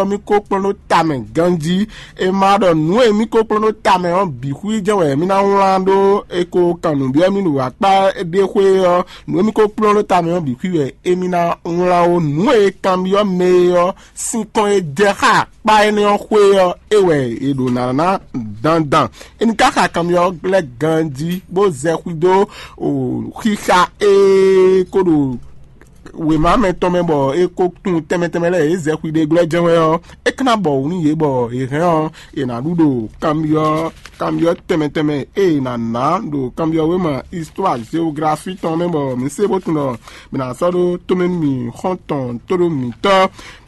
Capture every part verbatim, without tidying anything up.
ɔ́ mì ko kplɔ́n ɖó tamɛ ganjí. È ma ɖɔ nǔ e mì ko kplɔ́n ɖó tamɛ ɔ́ bǐ xwí jɛ́n wɛ mì ná wlán ɖó è ko kan nǔ byɔ́ mì ɖo akpá ɖé xwé ɔ́, nǔ e mì ko kplɔ́n ɖó tamɛ ɔ́ bǐ xwí wɛ émí ná wlán ó. Nǔ e kanbyɔ́ mɛ e ɔ́ sín kɔn e jɛ xá akpá énɛ́ ɔ́ xwé ɔ́, é wɛ è ɖǒ ná ná dandan. É ní ka xa kanbyɔ́ lɛ́ɛ ganjí bó zɛ xwídó xixa e ko ɖo wěma mɛtɔn mɛ bɔ é ko tunwun tɛnmɛ tɛnmɛ lɛ́ɛ é zɛ xwíɖé glɔ́ jɛ́n wɛ ɔ́, é ka ná bɔ wǔ nú yě bɔ yě hɛn ɔ́, è nǎ ɖu ɖo kanbyɔ́ kanbyɔ́ tɛnmɛ tɛnmɛ e è nǎ ná ɖo kanbyɔ́ wéma histoire géographie tɔn mɛ bɔ mǐ se bó tunwun ɖɔ mǐ ná sɔ́ ɖó tomɛ nú mì xɔ́ntɔn tóɖó mǐtɔn.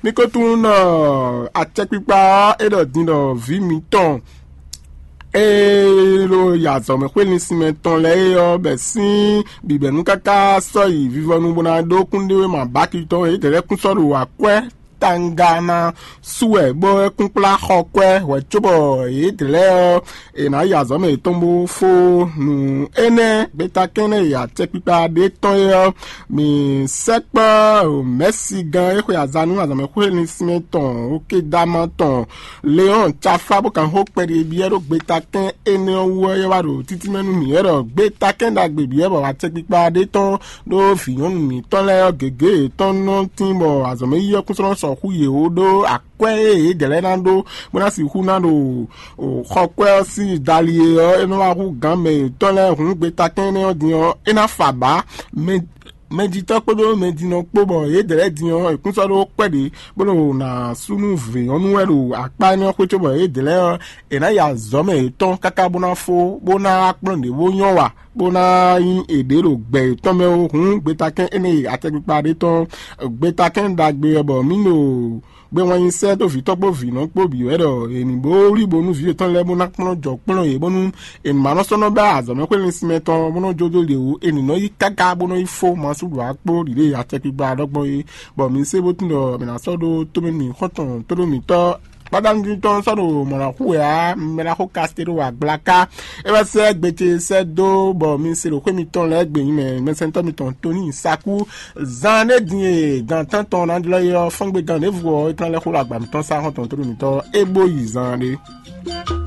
Mì ko tunwun ɖɔ acɛkpikpa ɔ́ é ɖɔ din ɖɔ vǐ mǐtɔn ee ɖo yi azɔ̌mɛ xwé linsin mɛ tɔn lɛ́ɛ é ɔ́ bɛ sín bǐbɛ̌nu káká sɔ́ yi vivɔnu bó ná ɖó kúnɖéwéma báki tɔn yědɛɛ lɛ́ɛ kún sɔ́ ɖo akwɛ́ tanga ná sú wɛ bó é kún kplá xɔ kwɛ́ hwɛ̌ cóbɔ yědɛɛ lɛ́ɛ ɔ́ è nǎ yi azɔ̌ mɛ yětɔn bó fó nǔ énɛ́ gbeta kɛ́nɛ́ e acɛkpikpa ɖé tɔn é ɔ́, mǐ sɛkpɔ́ mɛ̌sigán e xwe azǎn nú azɔ̌mɛxwé linsinmɛ tɔn Okedama tɔn Leɔ́n Cafá bó kan xó kpɛɖé byɔ́ ɖó gbetakɛ́n énɛ́ ɔ́ wú ɔ́, é wá ɖo títí mɛ nú mǐ wɛ ɖɔ gbetakɛ́n ɖagbe byɔ́ bɔ acɛkpikpa ɖé tɔn ɖó vǐ nyɔ̌nu mǐtɔn lɛ́ɛ ɔ́ gěgé yětɔn nɔ tín bɔ azɔ̌mɛyíyí ɔ́ kún sɔ́ nɔ sɔxú yě ó ɖó akwɛ́ e yědɛɛ lɛ́ɛ ná ɖó bó ná sixú ná ɖo xɔkwɛ́ ɔ́ sín dali e ɔ́, é nɔ wá hú gǎn mɛ yětɔn lɛ́ɛ hǔn gbetakɛ́n énɛ́ ɔ́ din ɔ́, é ná fa bǎ. Mɛjitɔ́ kpódó mɛjinɔ kpó bɔ yědɛɛ lɛ́ɛ din ɔ́, è kún sɔ́ ɖó kpɛ́ ɖě bó ɖo ná sú nú vǐ nyɔ̌nu wɛ ɖo akpá énɛ́ ɔ́ xwé cóbɔ yědɛɛ lɛ́ɛ ɔ́, è nǎ yi azɔ̌ mɛ yětɔn káká bó ná fó bó ná wá kplɔ́n ɖě bó nyɔ́ wa bó ná nyí èɖě ɖo gbɛ yětɔn mɛ ó. Hǔn gbetakɛ́n énɛ́ e atɛkpikpa ɖé tɔn gbetakɛ́n ɖagbe wɛ bɔ mǐ ɖo gbé wɛn nyi sɛ́ dó vǐtɔ́ kpó vǐnɔ kpó bǐ wɛ ɖɔ è nǐ bó wlí bónú vǐ yětɔn lɛ́ɛ bó ná kplɔ́n jɔ kplɔ́n yě bónú è nǐ ma nɔ sɔ́ nɔ bɛ́ azɔ̌mɛxwé linsinmɛ tɔn bó nɔ́ jó dó ɖě wú, è nǐ nɔ yí káká bó nɔ́ yi fó masú ɖo akpó ɖiɖe acɛkpikpa ɖɔgbɔn é, bɔ mi se bó tunwun ɖɔ mǐ ná sɔ́ ɖó tómɛ nú xɔ́ntɔn tóɖó mǐtɔn gbadanu tɔn sɔ́ ɖo mɔ̌ ná xú wɛ ǎ, mɛ ná xó kasité ɖo agblaka. É wá sɛ́ gbe ce sɛ́ dó bɔ mi se ɖo xwé mitɔn lɛ́ɛ gbe nyi mɛ mɛsɛntɔ́ mitɔn Toni Saku. Zan ɖé din e gan tántɔn ná jlɔ́ é ɔ́, fɔ́ngbe gan ɖěvo ɔ́, é ka ná lɛ́ xó ɖo agba mǐtɔn sá xɔ́ntɔn tóɖó mǐtɔn é bó yi zan ɖé.